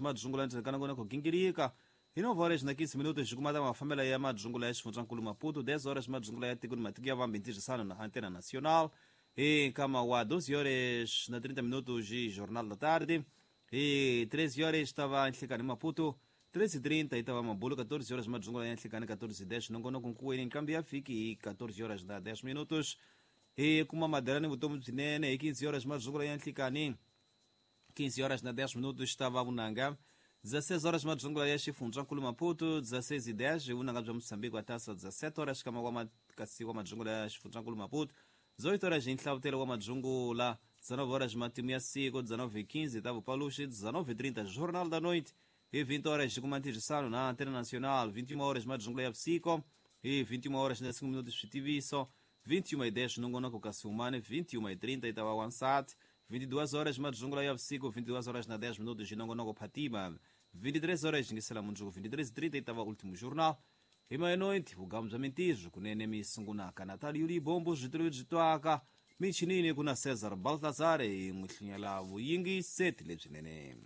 Madzungula ndzeni ka nongonoko gingirika hi 9 horas na 15 minutos xi kuma ta mafambelo ya madzungula ya xifundzankulu Maputo, 10 horas madzungula ya tiko ni matiko ya vambe ntirhisano na Antena Nacional. Hi nkama wa 12 horas na 30 minutos hi Jornal da Tarde. Hi 13 horas tava nhlikani Maputo, 13:30 itava Mabulo, 14 horas madzungula ya nhlikani, 14:10 nongonoko nkuweni nkambi ya fiki hi 14 horas na 10 minutos. Hi kuma madela ni vutomi byinene hi 15 horas madzungula ya nhlikani, 15 horas na 10 minutos estava vunanga. 16 horas madzungula ya xifundzankulu Maputo, 16:10 vunanga bya Moçambique wa taça, 17 horas kama wa kasi wa madzungula ya xifundzankulu Maputo, 18 horas hi nhlavutelo wa madzungula, 19 horas matimu ya siku, 19:15 ta vupaluxi, 19:30 Jornal da Noite. Hi 20 horas xi kuma ntirhisano na Antena Nacional, 21 horas madzungula ya vusiku, hi 21 horas na 5 minutos switiviso, 21:10 nongonoko kasi umane, 21:30 itava wansati, 22 horas madzungula ya vusiku, 22 horas na 10 minutos nongonoko Phatima, 23 horas xingisela mundzuku, 23:30 itava Último Jornal. Hi meia-noite vugamu bya mintirho kunene mi sungunaka Natal Libombo switulu byi twaka michinini kuna Cesar Baltazar hi n'wi hlinyela vuyingiseti lebyinene.